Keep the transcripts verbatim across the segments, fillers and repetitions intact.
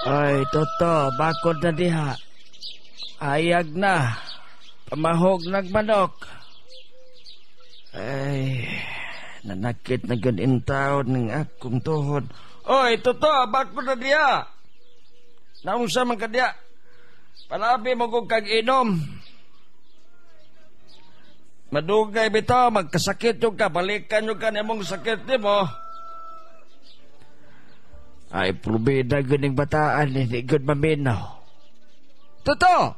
Ay, Toto, bakod na diha. Ayag na. Pamahog nagmanok. Ay, nanakit na gyud intawon ng akong tuhod. Oy, Toto, bakod na diha. Naunsa man ka diha. Palabi mo kog kag inom. Madugay bitaw, magkasakit yung ka, balikan yung ka nimong sakit nimo. Ay, probida gyud ning bataan, hindi gyud maminaw. Toto!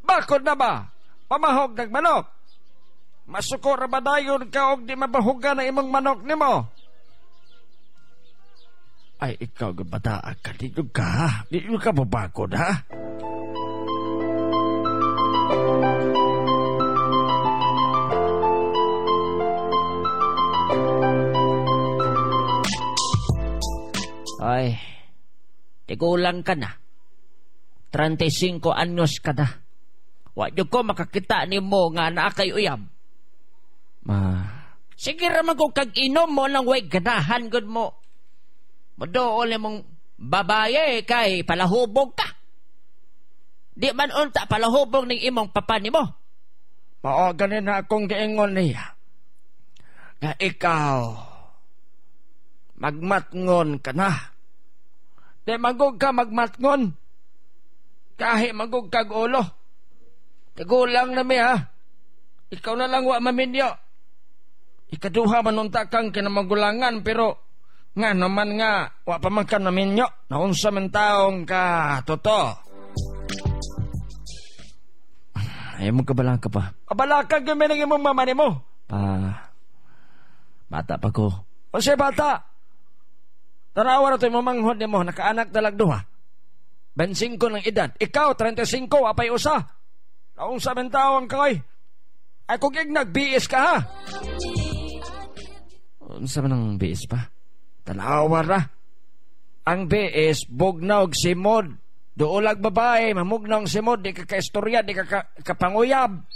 Bakod na ba? Pamahog nagmanok. Masuko ra ba dayon ka og di mabahugan ang imong manok nimo? Ay, ikaw gyud bataan ka, di gyud ka, ha? Di gyud ka mabakod, ha? Ay, tigulang ka na. trenta'y singko anyos ka na. Wa jud ko makakita nimo nga naa kay uyab. Ma, Sige ra man kung kag inom mo nang way ganahan gud mo. Modool nimong babaye kay palahubog ka. Di man unta palahubog ning imong papa nimo. Mao ganin na akong giingon niya. Nga ikaw magmatngon ka na. Di magug ka magmatngon. Kahi magug kag ulo. Tigulang na mi ha. Ikaw na lang wa maminyo. Ikaduha man unta kang kinamagulangan pero nga naman nga wa pa man ka naminyo. Naunsa man taong ka, Toto. Ay mo kabalaka pa. Kabalaka gyud mi imong mama nimo. Pa bata pa ko. O siya bata. Tanawa na ito yung mamanghod nimo, nakaanak dalag duha. twenty-five ng edad. Ikaw, thirty-five, apay usa. Naunsa man taong kay. Ay kung ignag, B S ka ha. Unsa man ang B S pa? Tanawa ra. Ang B S, bugnaw og simod. Duolag babae, mamugnaw ang simod, di ka kaistorya, di ka, ka kapanguyab.